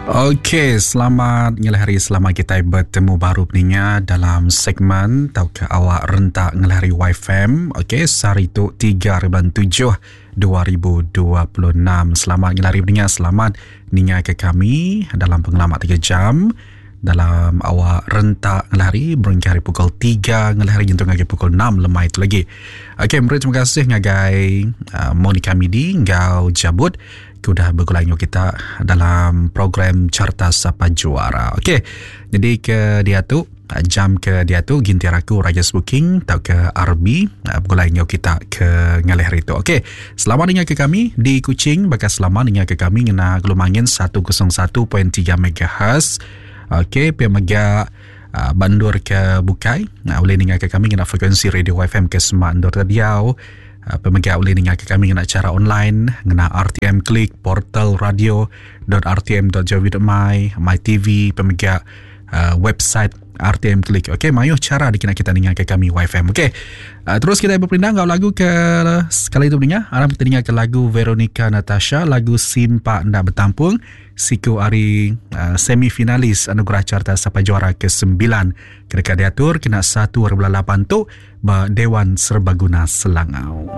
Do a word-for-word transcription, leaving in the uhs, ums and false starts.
Okey, selamat ngalih hari, selamat kitai betemu baru peninga dalam segmen tauka awak rentak ngalih hari Y F M. Okey, sehari tu tiga bulan tujuh dua ribu dua puluh enam. Selamat ngalih hari peninga, selamat ninga ke kami dalam pengelama tiga jam dalam awak rentak ngalih hari berengkah hari pukul tiga ngalih hari nyentuk ngagai pukul enam lemai tu lagi. Okey, meri terima kasih ngagai uh, Monica Midi enggau Jabut ke udah begulai dengan kita dalam program Carta Sapa Juara. Okey, jadi ke dia tu jam ke dia tu gintir aku Raja Booking atau ke R B begulai dengan kita ke ngalih hari tu. Okey, selamat dengar ke kami di Kuching, bakal selamat dengar ke kami ngena gelumangin seratus satu perpuluhan tiga M H. Okey, pia mega uh, bandur ke bukai. Nah, boleh dengar ke kami ngena frekuensi radio Y F M ke semak endur diau. Uh, pemega boleh dengar ke kami ngena cara online ngena R T M Klik portal radio dot R T M dot G O V dot my, My T V, pemega uh, website R T M Klik. Okey, mayuh cara dikena kita dengar ke kami Y F M. Okey. Uh, terus kita berpindah ngau lagu ke sekali itu dengar. Aram kita dengar ke lagu Veronica Natasha, lagu Simpak Ndak Betampung. Siku hari uh, semifinalis Anugerah Carta Sapa Juara kesembilan ketika diatur kena satu bulan lapan tu ba Dewan Serbaguna Selangau.